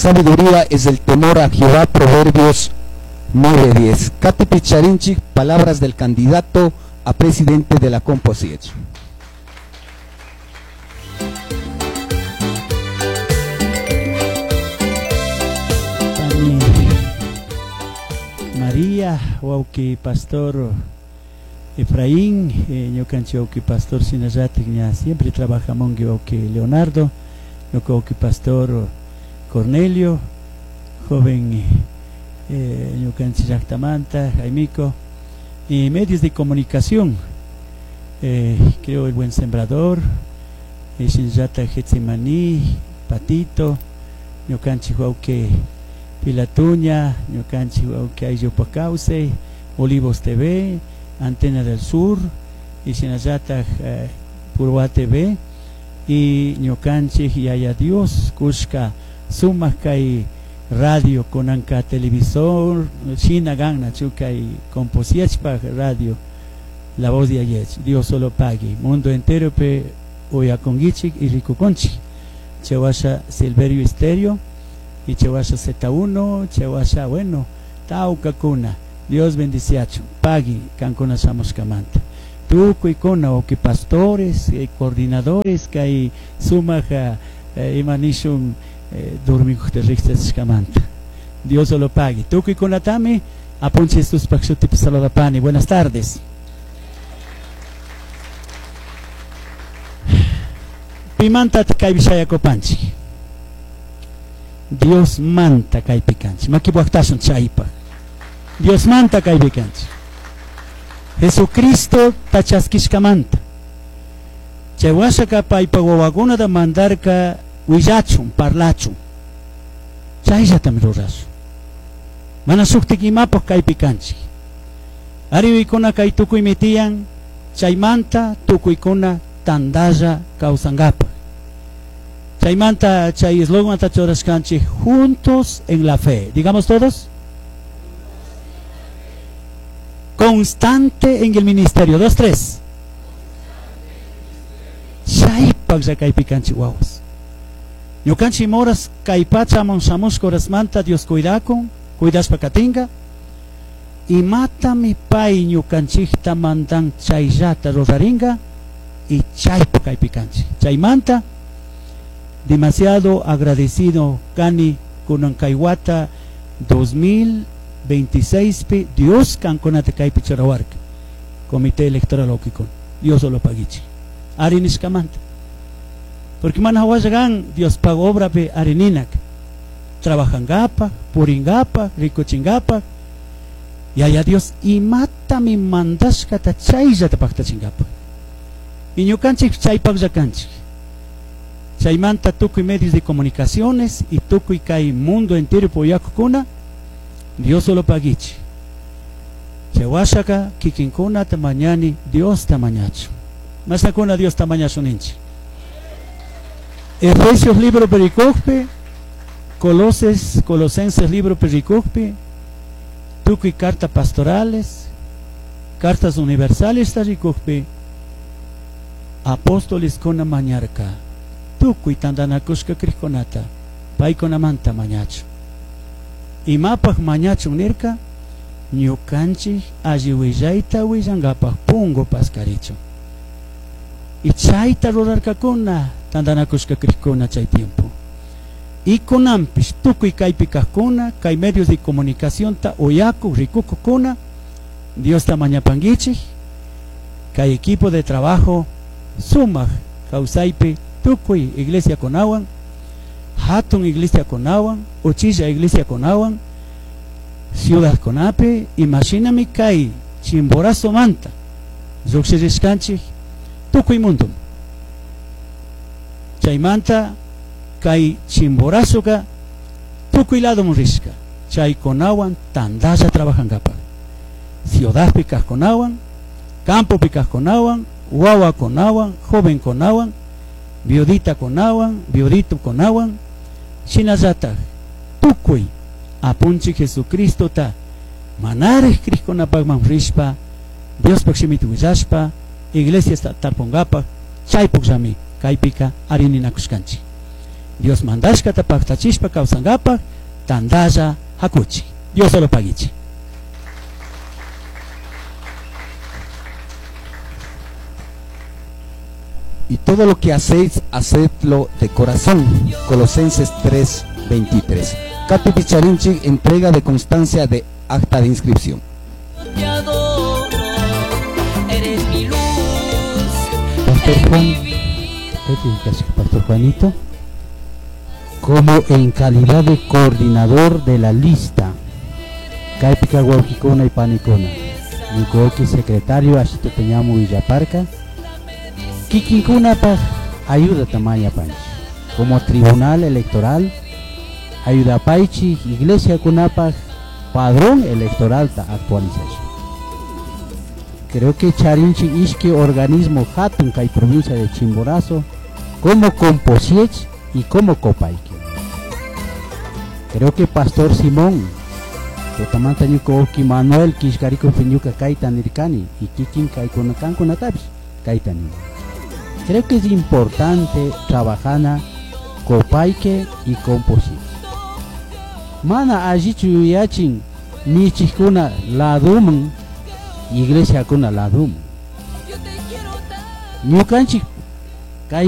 sabiduría es el temor a Jehová, Proverbios 9:10. Katipi charinchik, palabras del candidato a presidente de la Composiech. Pani María, wauki pastor Efraín, ñukanchik wauki pastor shinallatik ña siempre trabajamunki wauki Leonardo, ñuka wauki pastor Cornelio, joven ñukanchik llaktamanta Jaimico, y medios de comunicación, creo el Buen Sembrador, shinallatak Getsemaní, Patito, ñukanchik wauki Pilatuña, ñukanchik wauki Ayllupa Kawsay, Olivos TV, Antena del Sur, y shinallatak Purwa TV, y ñukanchik Yaya Dios kushka sumak kay radio kunanka televisor shina gannachu kay Composiechpaj radio La Voz de Ayech, Dios solo pague, mundo entero pe uyakunkichik y rikukunchik. Chewasha Silverio Estéreo y Chewasha Z1, Chewasha, bueno, tawkakuna, Dios bendiciachu, pagui kankuna shamushkamanta. Tukuykuna wawki pastores, coordinadores kay sumak ima nishun dormikukta riqsishkamanta. Dios lo pague. Tukuykunatami apunchik Jesuspaj shutipi saludapani. Buenas tardes. Pimanta kaypi shayakupanchik. Dios manta kaypi kanchik. Makipuajtashun chaypaj. Dios manta kaypi kanchik. Jesucristo tachaskishkamanta. Chay washaka paypa wawakunata mandarka willachun, parlachun. Chayllatami rurashun. Mana shuktik imapaj kaypi kanchik. Ariwikuna kay tukuymi tiyan, chaymanta tukuykuna tandalla kawsankapaj. Chaymanta chay eslogan churashkanchik, juntos en la fe. Digamos todos. Constante en el ministerio. 2, 3. Chaypaj kaypi kanchik wawas. Ñukanchik moras kay pachaman shamushka horasmanta Dios cuidakun, cuidashpa katinka. Imatami pay ñukanchikta mandan chayllata rurarinka y chaypaj kaypi kanchik. Chaymanta demasiado agradecido kani kunan kay wata 2026 pi Dios kankunata kaypi churawarka. Comité Electoral Okikun. Dios lo pagichi. Ari nishkamanta. Porque mana hawallagan Dios pago obra pe arininak. Trabajangapa, puringapa, rikuchingapa. Yaya Dios imatami mandashkata chayllata paktachingapa. Y ñukanchik chaypaj llakanchik. Chaymanta tukuy medios de comunicaciones y tukuy kay mundo entero puyakukuna, Dios solo pagichi. Chaywashaka kikinkuna tamañani Dios tamañachu. Masakuna Dios tamañachu ninchik. Efesios libro pericujpi, Colosenses libro pericujpi, tukuy carta pastorales, cartas universales taricujpi, apóstoles kuna mañarka, tukuy tandanakushka krikkunata, paykunamanta mañachu. Imapaj mañachu nirka, ñukanchik alli willayta willankapaj pungu paskarichu. Y chayta rurarkakuna tandanakushka krikuna chay tiempo. Y kunanpish tukuy kaypi kajkuna, kay medios de comunicación ta uyaku rikukukuna, Dios ta mañapanguichik, kay equipo de trabajo sumak kawsaypi tukuy iglesia kunawan, hatun iglesia kunawan, uchilla iglesia kunawan, ciudad kunapi, imashinami kay Chimborazo manta, lluqshirishkanchik tukuy mundo. Chaymanta kay Chimborazoka tukuy lado rishka, chaykunawan tandalla trabajankapaj. Ciudadpi kajkunawan, campopi kajkunawan, wawakunawan, jovenkunawan, viudita kunawan, viudito kunawan, shinallataj tukuy apunchik Jesucristota manaraj krikkunapajman rishpa, Diospaj shimita willashpa, iglesia tarpungapaj, chaypukllami kaypika arininakushkanchik. Dios mandashkata paktachishpa kawsankapak tantalla hakuchik. Dios solo paguichik. Y todo lo que hacéis, hacedlo de corazón. Colosenses 3:23. Katy Picharinchi, entrega de constancia de acta de inscripción. Te adoro, eres mi luz, Pastor en Juan, mi vida. ¿qué te dices, Pastor Juanito? Como en calidad de coordinador de la lista, Kaypika wawqikuna y panikuna, ñuka secretario Ashito Peñamu Villaparca, kikinkunapaj ayuda tamaña panchi, como tribunal electoral, ayuda paichi iglesia kunapaj padrón electoral ta actualización. Creo que Charinchi ishki organismo hatun kay provincia de Chimborazo, como Composiech y como Copaique. Creo que Pastor Simón, Totamanta ñuka wawki Manuel Kishkariko ñuka kayta nirkani y kikin kaykuna kankunatapish kayta nini. Creo que es importante trabajana Copaique y Composiech. Mana allichu yuyachin michikuna laduman, iglesiakuna laduman. Yo te quiero tanto. Ñukanchik kay